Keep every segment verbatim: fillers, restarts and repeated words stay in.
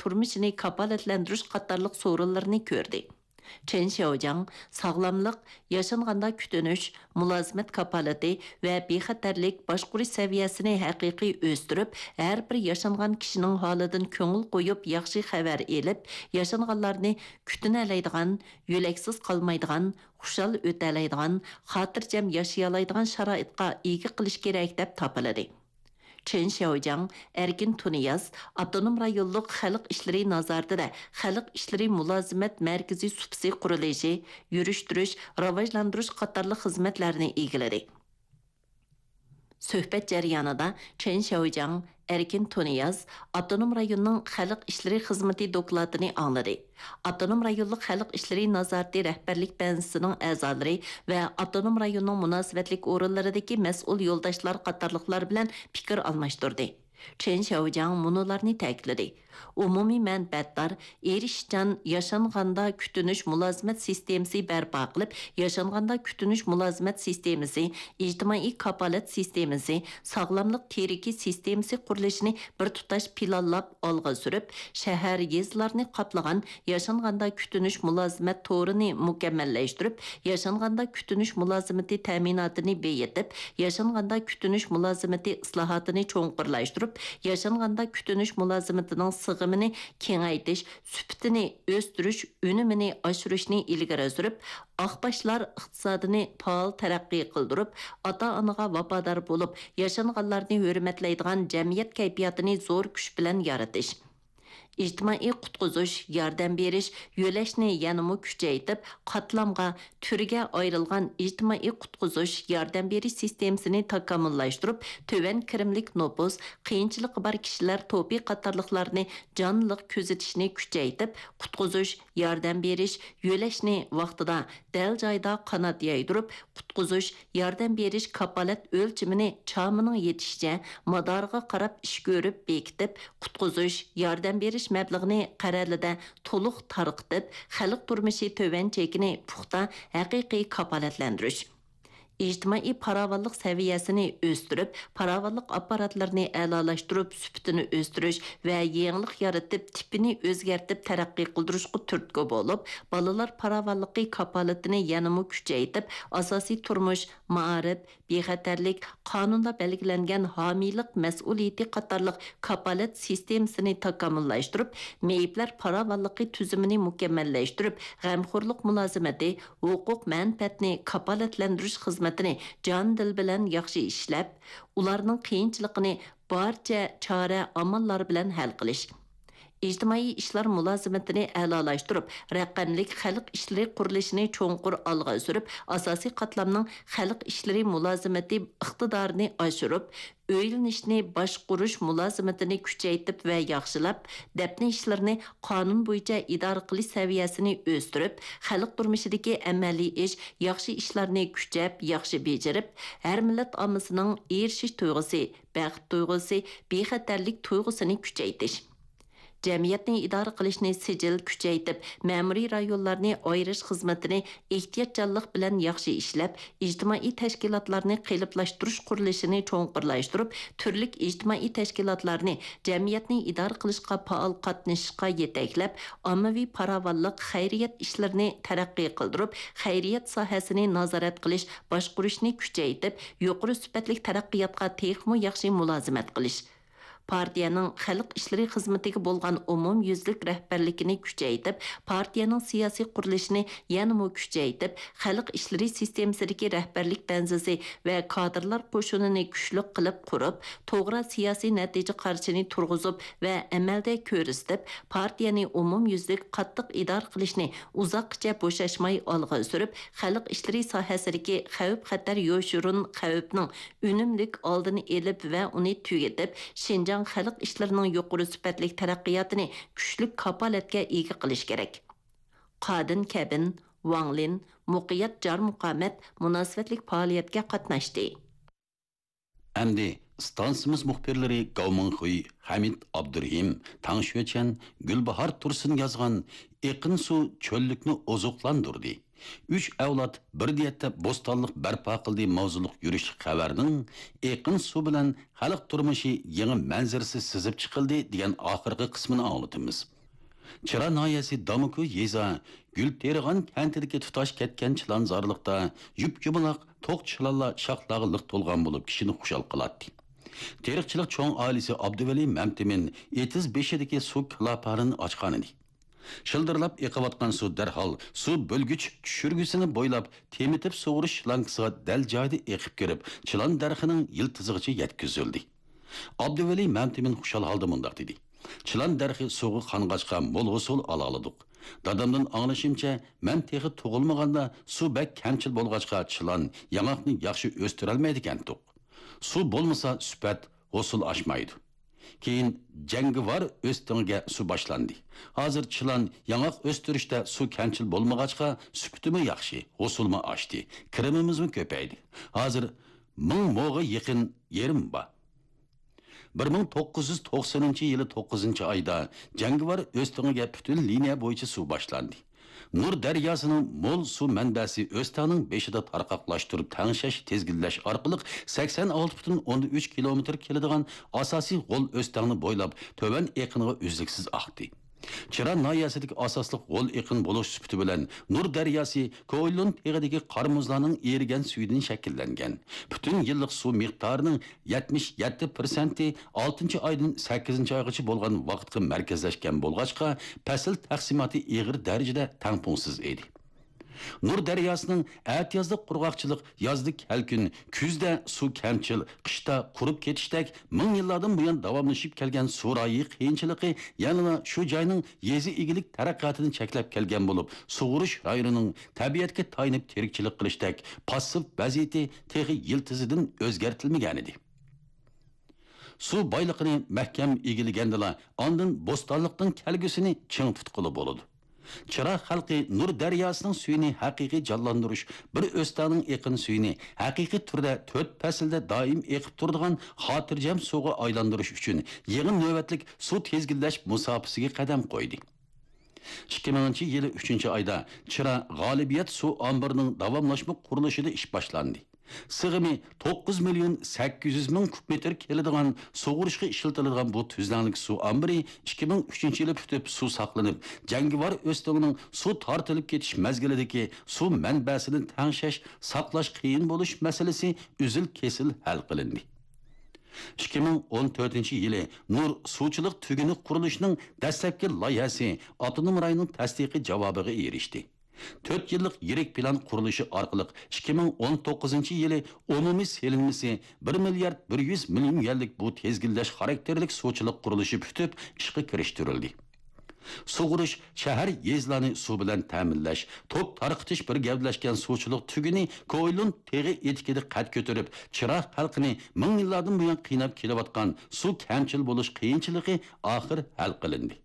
تۇرمۇشىنى كاپالەتلەندۈرۈش قاتارلىق سورۇنلىرىنى كۆردى. چېن شياۋجياڭ ساغلاملىق، ياشانغاندا كۈتۈنۈش، مۇلازىمەت كاپالىتى ۋە بىخەتەرلىك باشقۇرۇش سەۋىيەسىنى ھەقىقىي ئۆستۈرۈپ، ھەر بىر ياشانغان كىشىنىڭ ھالىدىن كۆڭۈل قويۇپ، ياخشى خەۋەر ئېلىپ، ياشانغانلارنى كۈتۈنەلەيدىغان، يۆلەكسىز قالمايدىغان، خۇشال ئۆتەلەيدىغان، خاتىرجەم ياشىيالايدىغان شارائىتقا ئىگە قىلىش كېرەك، دەپ تاپىلىدى. چېن شياۋجياڭ ئەركىن تۇنىياز ئاپتونوم رايونلۇق خەلق ئىشلىرى نازارىتىدە خەلق ئىشلىرى مۇلازىمەت مەركىزى سۇپىسى قۇرۇلۇشى، يۈرۈشتۈرۈش، راۋاجلاندۇرۇش قاتارلىق خىزمەتلەرنى ئىگىلىدى. سۆھبەت جەريانىدا چېن شياۋجياڭ ئەركىن تۇنىياز ئاپتونوم رايوننىڭ خەلق ئىشلىرى خىزمىتى دوكلاتىنى ئاڭلىدى. ئاپتونوم رايونلۇق خەلق ئىشلىرى نازارىتى رەھبەرلىك بەنزىسىنىڭ ئەزالىرى ۋە ئاپتونوم رايوننىڭ مۇناسىۋەتلىك ئورۇنلىرىدىكى مەسئۇل يولداشلار قاتارلىقلار بىلەن پىكىر ئالماشتۇردى. چېن شياۋجياڭ مۇنۇلارنى تەكىتلىدى: ئومۇمىي مەنپەئەتدار، ئېرىشىشچان ياشانغاندا كۈتۈنۈش مۇلازىمەت سىستېمىسى بەرپا قىلىپ، ياشانغاندا كۈتۈنۈش مۇلازىمەت سىستېمىسى، ئىجتىمائىي كاپالەت سىستېمىسى، ساغلاملىق تىرىكى سىستېمىسى قۇرۇلۇشىنى بىر تۇتاش پىلانلاپ ئالغا سۈرۈپ، شەھەر، يېزىلارنى قاپلىغان ياشانغاندا كۈتۈنۈش مۇلازىمەت تورىنى مۇكەممەللەشتۈرۈپ، ياشانغاندا كۈتۈنۈش مۇلازىمىتى تەمىناتىنى بېيىتىپ، ياشانغاندا كۈتۈنۈش مۇلازىمىتى ئىسلاھاتىنى چوڭقۇرلاشتۇرۇپ، ياشانغاندا كۈتۈنۈش مۇلازىمىتىنىڭ سىغىمىنى كېڭەيتىش، سۈپىتىنى ئۆستۈرۈش، ئۈنۈمىنى ئاشۇرۇشنى ئىلگىرى سۈرۈپ، ئاق باشلار ئىقتىسادىنى پائال تەرەققىي قىلدۇرۇپ، ئاتا-ئانىغا ۋاپادار بولۇپ، ياشانغانلارنى ھۆرمەتلەيدىغان جەمئىيەت كەيپىياتىنى زور كۈچ بىلەن يارىتىش. ئىجتىمائىي قۇتقۇزۇش، ياردەم بېرىش، يۆلەشنى يەنىمۇ كۈچەيتىپ، قاتلامغا، تۈرگە ئايرىلغان ئىجتىمائىي قۇتقۇزۇش، ياردەم بېرىش سىستېمىسىنى تاكامۇللاشتۇرۇپ، تۆۋەن كىرىملىك نوپۇس، قىيىنچىلىقى بار كىشىلەر توپى قاتارلىقلارنى جانلىق كۆزىتىشنى كۈچەيتىپ، قۇتقۇزۇش، ياردەم بېرىش، يۆلەشنى ۋاقتىدا، دەل جايىدا قانات يايدۇرۇپ، قۇتقۇزۇش، ياردەم بېرىش كاپالەت ئۆلچىمىنى چامىنىڭ يېتىشىچە مادارىغا قاراپ ئىش كۆرۈپ بېكىتىپ، قۇتقۇزۇش، ياردەم بېرىش مەبلىغىنى قەرەلىدە تولۇق تارقىتىپ، خەلق تۇرمۇشى تۆۋەن چېكىنى پۇختا، ھەقىقىي كاپالەتلەندۈرۈش. ئىجتىمائىي پاراۋانلىق سەۋىيەسىنى ئۆستۈرۈپ، پاراۋانلىق ئاپپاراتلىرىنى ئەلالاشتۇرۇپ، سۈپىتىنى ئۆستۈرۈش ۋە يېڭىلىق يارىتىپ، تىپىنى ئۆزگەرتىپ تەرەققىي قىلدۇرۇشقا تۈرتكە بولۇپ، بالىلار پاراۋانلىقى كاپالىتىنى يەنىمۇ كۈچەيتىپ، ئاساسىي تۇرمۇش، مائارىپ، بىخەتەرلىك، قانۇندا بەلگىلەنگەن ھامىيلىق مەسئۇلىيىتى قاتارلىق كاپالەت سىستېمىسىنى تاكامۇللاشتۇرۇپ، مېيىپلەر پاراۋانلىقى تۈزۈمىنى مۇكەممەللەشتۈرۈپ، غەمخورلۇق مۇلازىمىتى، ھوقۇق مەنپەئەتنى كاپالەتلەندۈرۈش خىزمىتىنى جان-دىل بىلەن ياخشى ئىشلەپ، ئۇلارنىڭ قىيىنچىلىقىنى بارچە چارە-ئاماللار بىلەن ھەل قىلىش. ئىجتىمائىي ئىشلار مۇلازىمىتىنى ئەلالاشتۇرۇپ، رەقەملىك خەلق ئىشلىرى قۇرۇلۇشىنى چوڭقۇر ئالغا سۈرۈپ، ئاساسىي قاتلامنىڭ خەلق ئىشلىرى مۇلازىمىتى ئىقتىدارىنى ئاشۇرۇپ، ئۆيلىنىشنى باشقۇرۇش مۇلازىمىتىنى كۈچەيتىپ ۋە ياخشىلاپ، دەپنە ئىشلىرىنى قانۇن بويىچە ئىدارە قىلىش سەۋىيەسىنى ئۆستۈرۈپ، خەلق تۇرمۇشىدىكى ئەمەلىي ئىش، ياخشى ئىشلارنى كۈچەپ، ياخشى بېجىرىپ، ھەر مىللەت ئاممىسىنىڭ ئېرىشىش تۇيغۇسى، بەخت تۇيغۇسى، بىخەتەرلىك تۇيغۇسىنى كۈچەيتىش. جەمئىيەتنى ئىدارە قىلىشنى سىجىل كۈچەيتىپ، مەمۇرىي رايونلارنى ئايرىش خىزمىتىنى ئېھتىياتچانلىق بىلەن ياخشى ئىشلەپ، ئىجتىمائىي تەشكىلاتلارنى قېلىپلاشتۇرۇش قۇرۇلۇشىنى چوڭقۇرلاشتۇرۇپ، تۈرلۈك ئىجتىمائىي تەشكىلاتلارنى جەمئىيەتنى ئىدارە قىلىشقا پائال قاتنىشىشقا يېتەكلەپ، ئاممىۋى پاراۋانلىق خەيرىيەت ئىشلىرىنى تەرەققىي قىلدۇرۇپ، خەيرىيەت ساھەسىنى نازارەت قىلىش، باشقۇرۇشنى كۈچەيتىپ، يۇقىرى سۈپەتلىك تەرەققىياتقا تېخىمۇ ياخشى مۇلازىمەت قىلىش. پارتىيەنىڭ خەلق ئىشلىرى خىزمىتىگە بولغان ئومۇميۈزلۈك رەھبەرلىكىنى كۈچەيتىپ، پارتىيەنىڭ سىياسىي قۇرۇلۇشىنى يەنىمۇ كۈچەيتىپ، خەلق ئىشلىرى سىستېمىسىدىكى رەھبەرلىك بەنزىسى ۋە كادىرلار قوشۇنىنى كۈچلۈك قىلىپ قۇرۇپ، توغرا سىياسىي نەتىجە قارىشىنى تۇرغۇزۇپ ۋە ئەمەلدە كۆرسىتىپ، پارتىيەنى ئومۇميۈزلۈك قاتتىق ئىدارە قىلىشنى ئۇزاققىچە بوشاشماي ئالغا سۈرۈپ، خەلق ئىشلىرى ساھەسىدىكى خەۋپ-خەتەر يوشۇرۇن خەۋپنىڭ ئۈنۈملۈك ئالدىنى ئېلىپ ۋە ئۇنى تۈگىتىپ، شىنجاڭ خەلق ئىشلىرىنىڭ يۇقىرى سۈپەتلىك تەرەققىياتىنى كۈچلۈك كاپالەتكە ئىگە قىلىش كېرەك. قادىن كەبىن، ۋاڭ لىن، مۇقىيەت جارمۇقامەت مۇناسىۋەتلىك پائالىيەتكە قاتناشتى. ئەمدى ئىستانسىمىز مۇخبىرلىرى گاۋ مىڭخۇي، خەمىت ئابدۇرېھىم، تاڭ شۆچەن، گۈلباھار تۇرسۇن يازغان ئېقىن سۇ چۆللۈكنى ئوزۇقلاندۇردى. «ئۈچ ئەۋلاد بىر نىيەتتە بوستانلىق بەرپا قىلدى» ماۋزۇلۇق يۈرۈشلۈك خەۋەرنىڭ «ئېقىن سۇ بىلەن خەلق تۇرمۇشى يېڭى مەنزىرىسى سىزىپ چىقىلدى» دېگەن ئاخىرقى قىسمىنى ئاڭلىتىمىز. چىرا ناھىيەسى دامۇكۇ يېزا گۈلتېرىغان كەنتىدىكى تۇتاش كەتكەن چىلانزارلىقتا يۇپيۇمىلاق توق چىلانلار شاخلارغا لىق تولغان بولۇپ، كىشىنى خۇشال قىلاتتى. تېرىقچىلىق چوڭ ئائىلىسى ئابدۇۋەلى مەمتىمىن ئېتىز بېشىدىكى سۇ كىلاپارىنى ئاچقانىدى. شىلدىرلاپ ئېقىۋاتقان سۇ دەرھال سۇ بۆلگۈچ چۈشۈرگۈسىنى بويلاپ تېمىتىپ سۇغۇرۇش شلانكىسىغا دەل جايىدا ئېقىپ كىرىپ، چىلان دەرىخىنىڭ يىلتىزىغىچە يەتكۈزۈلدى. ئابدۇۋەلى مەمتىمىن خۇشال ھالدا مۇنداق دېدى: «چىلان دەرىخى سۇغا قانغاچقا مول ھوسۇل ئالالىدۇق. دادامدىن ئاڭلىشىمچە، مەن تېخى تۇغۇلمىغاندا سۇ بەك كەمچىل بولغاچقا چىلان، ياڭاقنى ياخشى ئۆستۈرەلمەيدىكەنتۇق. سۇ بولمىسا سۈپەت، ھوسۇل ئاشمايدۇ. كېيىن جەڭگىۋار ئۆستىڭىگە سۇ باشلاندى. ھازىر چىلان، ياڭاق ئۆستۈرۈشتە سۇ كەمچىل بولمىغاچقا، سۈپىتىمۇ ياخشى، ھوسۇلمۇ ئاشتى، كىرىمىمىزمۇ كۆپەيدى. ھازىر مىڭ موغا يېقىن يېرىم بار.» بىر مىڭ توققۇز يۈز توقسىنىنچى يىلى توققۇزىنچى ئايدا جەڭگىۋار ئۆستىڭىگە پۈتۈن لىنىيە بويىچە سۇ باشلاندى. نۇر دەرياسىنىڭ مول سۇ مەنبەسى ئۆستەڭنىڭ بېشىدا تارقاقلاشتۇرۇپ تەڭشەش، تىزگىنلەش ئارقىلىق سەكسەن ئالتە پۈتۈن ئوندىن ئۈچ كىلومېتىر كېلىدىغان ئاساسىي غول ئۆستەڭنى بويلاپ تۆۋەن ئېقىنغا ئۈزلۈكسىز ئاقتى. چىرا ناھىيەسىدىكى ئاساسلىق غول ئېقىن بولۇش سۈپىتى بىلەن نۇر دەرياسى كوئىلون تېغىدىكى قار مۇزلارنىڭ ئېرىگەن سۈيىدىن شەكىللەنگەن. پۈتۈن يىللىق سۇ مىقدارىنىڭ يەتمىش يەتتە پىرسەنتى ئالتىنچى ئايدىن سەككىزىنچى ئايغىچە بولغان ۋاقىتقا مەركەزلەشكەن بولغاچقا، پەسىل تەقسىماتى ئېغىر دەرىجىدە تەڭپۇڭسىز ئىدى. نۇر دەرياسىنىڭ ئەتىيازدا قۇرغاقچىلىق، يازدا كەلكۈن، كۈزدە سۇ كەمچىل، قىشتا قۇرۇپ كېتىشتەك مىڭ يىللاردىن بۇيان داۋاملىشىپ كەلگەن سۇ رايى قىيىنچىلىقى يەنىلا شۇ جاينىڭ يېزا ئىگىلىك تەرەققىياتىنى چەكلەپ كەلگەن بولۇپ، سۇغۇرۇش رايونىنىڭ تەبىئەتكە تايىنىپ تىرىكچىلىك قىلىشتەك پاسسىپ ۋەزىيىتى تېخى يىلتىزىدىن ئۆزگەرتىلمىگەنىدى. سۇ بايلىقىنى مەھكەم ئىگىلىگەندىلا، ئاندىن بوستانلىقنىڭ كەلگۈسىنى چىڭ تۇتقىلى بولىدۇ. چىرا خەلقى نۇر دەرياسىنىڭ سۈيىنى ھەقىقىي جانلاندۇرۇش، بىر ئۆستەڭنىڭ ئېقىن سۈيىنى ھەقىقىي تۈردە تۆت پەسىلدە دائىم ئېقىپ تۇرىدىغان خاتىرجەم سۇغا ئايلاندۇرۇش ئۈچۈن يېڭى نۆۋەتلىك سۇ تىزگىنلەش مۇساپىسىگە قەدەم قويدى. ئىككى مىڭىنچى يىلى ئۈچىنچى ئايدا چىرا غالىبىيەت سۇ ئامبىرىنىڭ داۋاملاشما قۇرۇلۇشىدا ئىش باشلاندى. سىغىمى توققۇز مىليون سەككىز يۈز مىڭ كۇب مېتىر كېلىدىغان سۇغۇرۇشقا ئىشلىتىلىدىغان بۇ تۈزلەڭلىك سۇ ئامبىرى ئىككى مىڭ ئۈچىنچى يىلى پۈتۈپ سۇ ساقلىنىپ، جەڭگىۋار ئۆستىڭىنىڭ سۇ تارتىلىپ كېتىش مەزگىلىدىكى سۇ مەنبەسىنى تەڭشەش، ساقلاش قىيىن بولۇش مەسىلىسى ئۈزۈل-كېسىل ھەل قىلىندى. ئىككى مىڭ ئون تۆتىنچى يىلى نۇر سۇچىلىق تۈگۈنى قۇرۇلۇشىنىڭ دەسلەپكى لايىھەسى ئاپتونوم رايوننىڭ تەستىقىي جاۋابىغا ئېرىشتى. تۆت يىللىق يىرىك پىلان قۇرۇلۇشى ئارقىلىق ئىككى مىڭ ئون توققۇزىنچى يىلى ئومۇمىي سېلىنمىسى بىر مىليارد بىر يۈز مىليون يۈەنلىك بۇ تىزگىنلەش خاراكتېرلىك سۇچىلىق قۇرۇلۇشى پۈتۈپ ئىشقا كىرىشتۈرۈلدى. سۇغۇرۇش، شەھەر، يېزىلارنى سۇ بىلەن تەمىنلەش، توك تارقىتىش بىر گەۋدىلەشكەن سۇچىلىق تۈگۈنى كوئىلون تېغى ئېتىكىدا قەد كۆتۈرۈپ، چىرا خەلقىنى مىڭ يىللاردىن بۇيان قىيناپ كېلىۋاتقان سۇ كەمچىل بولۇش قىيىنچىلىقى ئاخىر ھەل قىلىندى.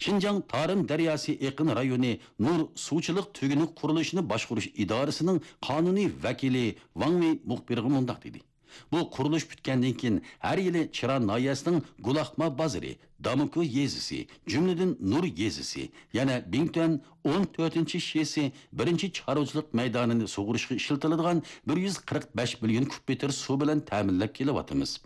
شىنجاڭ تارىم دەرياسى ئېقىن رايونى نۇر سۇچىلىق تۈگۈنى قۇرۇلۇشىنى باشقۇرۇش ئىدارىسىنىڭ قانۇنىي ۋەكىلى ۋاڭ ۋېي مۇخبىرغا مۇنداق دېدى: «بۇ قۇرۇلۇش پۈتكەندىن كېيىن، ھەر يىلى چىرا ناھىيەسىنىڭ گۇلاخما بازىرى، داموكو يېزىسى، جۈملىدىن نۇر يېزىسى، يەنە بىڭتۈەن ئون تۆتىنچى شىسى بىرىنچى چارۋىچىلىق مەيدانىنى سۇغۇرۇشقا ئىشلىتىلىدىغان بىر يۈز قىرىق بەش مىليون كۇب مېتىر سۇ بىلەن تەمىنلەپ كېلىۋاتىمىز.»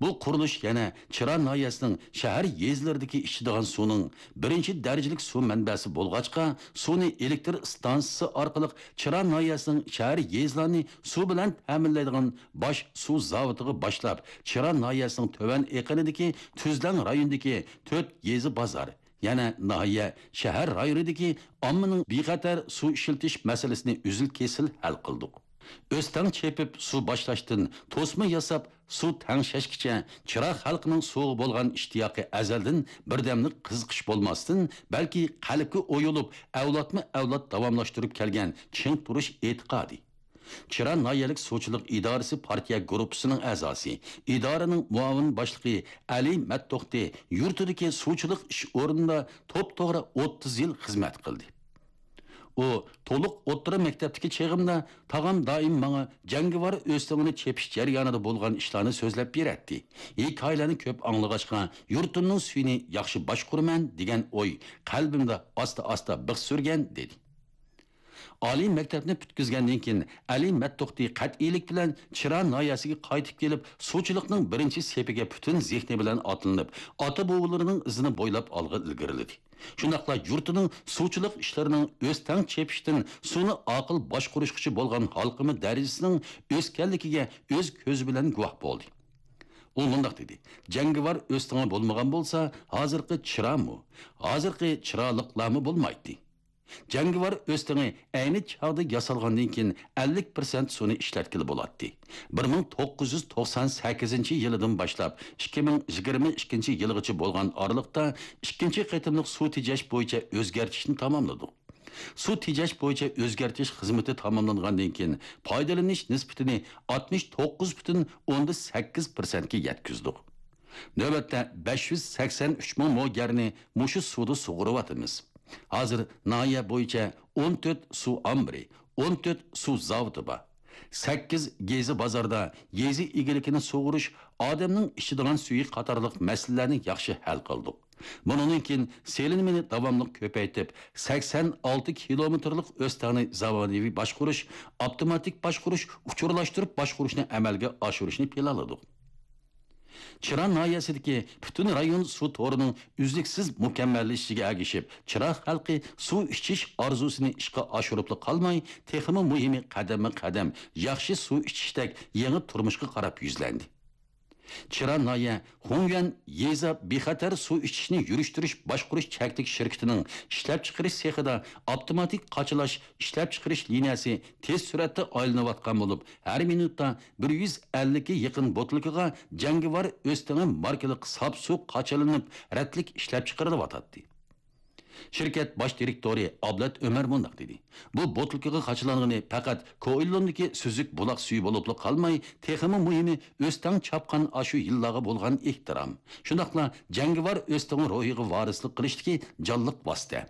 بۇ قۇرۇلۇش يەنە چىرا ناھىيەسىنىڭ شەھەر يېزىلىرىدىكى ئىچىدىغان سۇنىڭ بىرىنچى دەرىجىلىك سۇ مەنبەسى بولغاچقا، سۇنى ئېلېكتر ئىستانسىسى ئارقىلىق چىرا ناھىيەسىنىڭ شەھەر يېزىلارنى سۇ بىلەن تەمىنلەيدىغان باش سۇ زاۋۇتىغا باشلاپ، چىرا ناھىيەسىنىڭ تۆۋەن ئېقىنىدىكى تۈزلەڭ رايونىدىكى تۆت يېزا بازار، يەنە ناھىيە، شەھەر رايونىدىكى ئاممىنىڭ بىخەتەر سۇ ئىشلىتىش مەسىلىسىنى ئۈزۈل-كېسىل ھەل قىلدۇق. ئۆستەڭ چېپىپ سۇ باشلاشتىن توسما ياساپ سۇ تەڭشەشكىچە چىرا خەلقىنىڭ سۇغا بولغان ئىشتىياقى ئەزەلدىن بىردەملىك قىزىقىش بولماستىن، بەلكى قەلبكە ئويۇلۇپ، ئەۋلادمۇ ئەۋلاد داۋاملاشتۇرۇپ كەلگەن چىڭ تۇرۇش ئېتىقادى. چىرا ناھىيەلىك سۇچىلىق ئىدارىسى پارتىيە گۇرۇپپىسىنىڭ ئەزاسى، ئىدارىنىڭ مۇئاۋىن باشلىقى ئەلى مەتتوختى يۇرتىدىكى سۇچىلىق ئىش ئورنىدا توپتوغرا ئوتتۇز يىل خىزمەت قىلدى. ئۇ: «تولۇق ئوتتۇرا مەكتەپتىكى چېغىمدا تاغام دائىم ماڭا جەڭگىۋار ئۆستىڭىنى چېپىش جەريانىدا بولغان ئىشلارنى سۆزلەپ بېرەتتى. ھېكايىلەرنى كۆپ ئاڭلىغاچقا، يۇرتۇمنىڭ سۈيىنى ياخشى باشقۇرىمەن دېگەن ئوي قەلبىمدە ئاستا-ئاستا بىخ سۈرگەن» دېدى. ئالىي مەكتەپنى پۈتكۈزگەندىن كېيىن، ئەلى مەتتوختى قەتئىيلىك بىلەن چىرا ناھىيەسىگە قايتىپ كېلىپ، سۇچىلىقنىڭ بىرىنچى سېپىگە پۈتۈن زېھنى بىلەن ئاتلىنىپ، ئاتا-بوۋىلىرىنىڭ ئىزىنى بويلاپ ئالغا ئىلگىرىلىدى. شۇنداقلا يۇرتىنىڭ سۇچىلىق ئىشلىرىنىڭ ئۆستەڭ چېپىشتىن سۇنى ئاقىل باشقۇرۇشقىچە بولغان ھالقىما دەرىجىسىنىڭ ئۆسكەنلىكىگە ئۆز كۆزى بىلەن گۇۋاھ بولدى. ئۇ مۇنداق دېدى: «جەڭگىۋار ئۆستىڭى بولمىغان بولسا، ھازىرقى چىرامۇ، ھازىرقى چىرالىقلارمۇ بولمايتتى.» جەڭگىۋار ئۆستىڭى ئەينى چاغدا ياسالغاندىن كېيىن ئەللىك پىرسەنت سۇنى ئىشلەتكىلى بولاتتى. بىر مىڭ توققۇز يۈز توقسان سەككىزىنچى يىلىدىن باشلاپ ئىككى مىڭ يىگىرمە ئىككىنچى يىلغىچە بولغان ئارىلىقتا ئىككىنچى قېتىملىق سۇ تېجەش بويىچە ئۆزگەرتىشنى تاماملىدۇق. سۇ تېجەش بويىچە ئۆزگەرتىش خىزمىتى تاماملانغاندىن كېيىن، پايدىلىنىش نىسبىتىنى ئاتمىش توققۇز پۈتۈن ئوندىن سەككىز پىرسەنتكە يەتكۈزدۇق. نۆۋەتتە بەش يۈز سەكسەن ئۈچ مىڭ مو گەرنى مۇشۇ سۇدا سۇغۇرۇۋاتىمىز. ھازىر ناھىيە بويىچە ئون تۆت سۇ ئامبىرى، ئون تۆت سۇ زاۋۇتى بار. سەككىز يېزا بازاردا يېزا ئىگىلىكىنى سۇغۇرۇش، ئادەمنىڭ ئىچىدىغان سۈيى قاتارلىق مەسىلىلەرنى ياخشى ھەل قىلدۇق. بۇنىڭدىن كېيىن سېلىنمىنى داۋاملىق كۆپەيتىپ، سەكسەن ئالتە كىلومېتىرلىق ئۆستەڭنى زامانىۋى باشقۇرۇش، ئاپتوماتىك باشقۇرۇش، ئۇچۇرلاشتۇرۇپ باشقۇرۇشنى ئەمەلگە ئاشۇرۇشنى پىلانلىدۇق. چىرا ناھىيەسىدىكى پۈتۈن رايون سۇ تورىنىڭ ئۈزلۈكسىز مۇكەممەللىشىشىگە ئەگىشىپ، چىرا خەلقى سۇ ئىچىش ئارزۇسىنى ئىشقا ئاشۇرۇپلا قالماي، تېخىمۇ مۇھىمى، قەدەممۇ قەدەم ياخشى سۇ ئىچىشتەك يېڭى تۇرمۇشقا قاراپ يۈزلەندى. چىرا ناھىيە خۇڭيۈەن يېزا بىخەتەر سۇ ئىچىشنى يۈرۈشتۈرۈش باشقۇرۇش چەكلىك شىركىتىنىڭ ئىشلەپچىقىرىش سېخىدا ئاپتوماتىك قاچىلاش ئىشلەپچىقىرىش لىنىيەسى تېز سۈرئەتتە ئايلىنىۋاتقان بولۇپ، ھەر مىنۇتتا بىر يۈز ئەللىككە يېقىن بوتۇلكىغا جەڭگىۋار ئۆستىڭى ماركىلىق ساپ سۇ قاچىلىنىپ، رەتلىك ئىشلەپچىقىرىلىۋاتاتتى. شىركەت باش دىرېكتورى ئابلەت ئۆمەر مۇنداق دېدى: «بۇ بوتۇلكىغا قاچىلانغىنى پەقەت كوئىللوندىكى سۈزۈك بۇلاق سۈيى بولۇپلا قالماي، تېخىمۇ مۇھىمى، ئۆستەڭ چاپقان ئاشۇ يىللارغا بولغان ئېھتىرام، شۇنداقلا جەڭگىۋار ئۆستىڭى روھىغا ۋارىسلىق قىلىشتىكى جانلىق ۋاسىتە.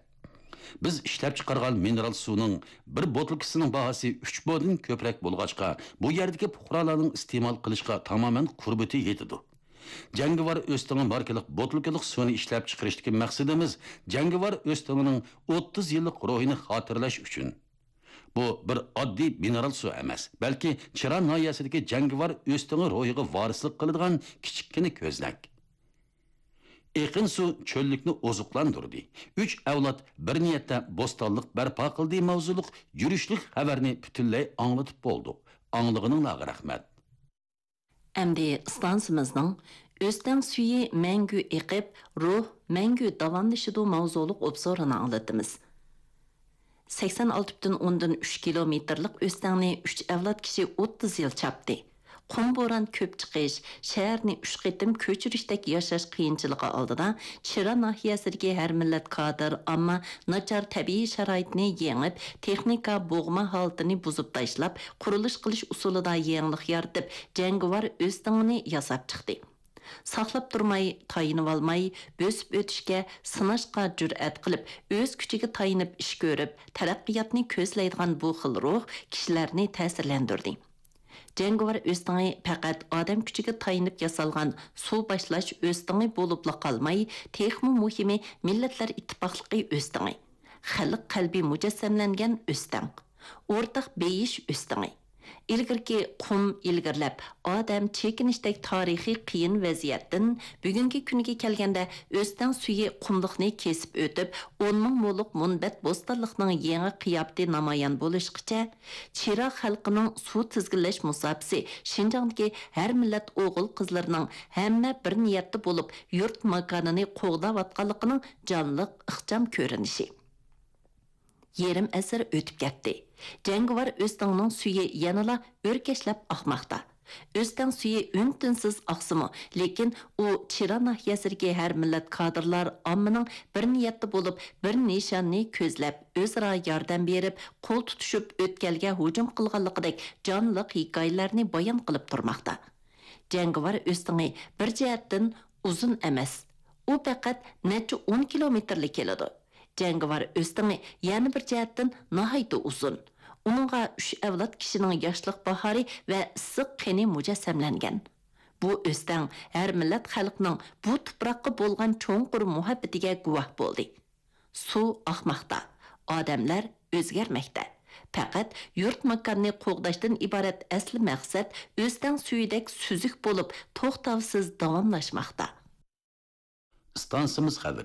بىز ئىشلەپچىقارغان مىنېرال سۇنىڭ بىر بوتۇلكىسىنىڭ باھاسى ئۈچ مودىن كۆپرەك بولغاچقا، بۇ يەردىكى پۇقرالارنىڭ ئىستېمال قىلىشقا تامامەن قۇربىتى يېتىدۇ. جەڭگىۋار ئۆستىڭى ماركىلىق بوتۇلكىلىق سۇنى ئىشلەپچىقىرىشتىكى مەقسىتىمىز جەڭگىۋار ئۆستىڭىنىڭ ئوتتۇز يىللىق روھىنى خاتىرىلەش ئۈچۈن. بۇ بىر ئاددىي مىنېرال سۇ ئەمەس، بەلكى چىرا ناھىيەسىدىكى جەڭگىۋار ئۆستىڭى روھىغا ۋارىسلىق قىلىدىغان كىچىككىنە كۆزنەك. ئېقىن سۇ چۆللۈكنى ئوزۇقلاندۇردى. ئۈچ ئەۋلاد بىر نىيەتتە بوستانلىق بەرپا قىلدى» ماۋزۇلۇق يۈرۈشلۈك خەۋەرنى پۈتۈنلەي ئاڭلىتىپ بولدۇق. ئاڭلىغىنىڭلارغا رەھمەت. ئەمدى ئىستانسىمىزنىڭ «ئۆستەڭ سۈيى مەڭگۈ ئېقىپ، روھ مەڭگۈ داۋاملىشىدۇ» ماۋزۇلۇق ئوبزورىنى ئاڭلىتىمىز. سەكسەن ئالتە پۈتۈن ئوندىن ئۈچ كىلومېتىرلىق ئۆستەڭنى ئۈچ ئەۋلاد كىشى ئوتتۇز يىل چاپتى. قۇم بوران كۆپ چىقىش، شەھەرنى ئۈچ قېتىم كۆچۈرۈشتەك ياشاش قىيىنچىلىقى ئالدىدا، چىرا ناھىيەسىدىكى ھەر مىللەت كادىر، ئامما ناچار تەبىئىي شارائىتنى يېڭىپ، تېخنىكا بوغما ھالىتىنى بۇزۇپ تاشلاپ، قۇرۇلۇش قىلىش ئۇسۇلىدا يېڭىلىق يارىتىپ، جەڭگىۋار ئۆستىڭىنى ياساپ چىقتى. ساقلاپ تۇرماي، تايىنىۋالماي، بۆسۈپ ئۆتۈشكە، سىناشقا جۈرئەت قىلىپ، ئۆز كۈچىگە تايىنىپ ئىش كۆرۈپ، تەرەققىياتنى كۆزلەيدىغان بۇ خىل روھ كىشىلەرنى تەسىرلەندۈردى. جەڭگىۋار ئۆستىڭى پەقەت ئادەم كۈچىگە تايىنىپ ياسالغان سۇ باشلاش ئۆستىڭى بولۇپلا قالماي، تېخىمۇ مۇھىمى، مىللەتلەر ئىتتىپاقلىقى ئۆستىڭى، خەلق قەلبى مۇجەسسەملەنگەن ئۆستەڭ، ئورتاق بېيىش ئۆستىڭى. ئىلگىرىكى قۇم ئىلگىرىلەپ، ئادەم چېكىنىشتەك تارىخىي قىيىن ۋەزىيەتتىن بۈگۈنكى كۈنگە كەلگەندە، ئۆستەڭ سۈيى قۇملۇقنى كېسىپ ئۆتۈپ، ئون مىڭ مولۇق مۇنبەت بوستانلىقنىڭ يېڭى قىياپىتى نامايان بولۇشقىچە، چىرا خەلقىنىڭ سۇ تىزگىنلەش مۇساپىسى شىنجاڭدىكى ھەر مىللەت ئوغۇل-قىزلىرىنىڭ ھەممە بىر نىيەتتە بولۇپ، يۇرت ماكانىنى قوغداۋاتقانلىقىنىڭ جانلىق، ئىخچام كۆرۈنۈشى. يېرىم ئەسىر ئۆتۈپ كەتتى. جەڭگىۋار ئۆستەڭنىڭ سۈيى يەنىلا ئۆركەشلەپ ئاقماقتا. ئۆستەڭ سۈيى ئۈن-تىنسىز ئاقسىمۇ، لېكىن ئۇ چىرا ناھىيەسىدىكى ھەر مىللەت كادىرلار ئاممىنىڭ بىر نىيەتتە بولۇپ، بىر نىشاننى كۆزلەپ، ئۆزئارا ياردەم بېرىپ، قول تۇتۇشۇپ ئۆتكەلگە ھۇجۇم قىلغانلىقىدەك جانلىق ھېكايىلەرنى بايان قىلىپ تۇرماقتا. جەڭگىۋار ئۆستىڭى بىر جەھەتتىن ئۇزۇن ئەمەس. ئۇ پەقەت نەچچە ئون كىلومېتىرلا كېلىدۇ. جەڭگىۋار ئۆستىڭى يەنە بىر جەھەتتىن ناھايىتى ئۇزۇن. ئۇنىڭغا ئۈچ ئەۋلاد كىشىنىڭ ياشلىق باھارى ۋە ئىسسىق قېنى مۇجەسسەملەنگەن. بۇ ئۆستەڭ ھەر مىللەت خەلقنىڭ بۇ تۇپراققا بولغان چوڭقۇر مۇھەببىتىگە گۇۋاھ بولدى. سۇ ئاقماقتا، ئادەملەر ئۆزگەرمەكتە. پەقەت يۇرت-ماكاننى قوغداشتىن ئىبارەت ئەسلى مەقسەت ئۆستەڭ سۈيىدەك سۈزۈك بولۇپ، توختاۋسىز داۋاملاشماقتا. ئىستانسىمىز خەۋىرى.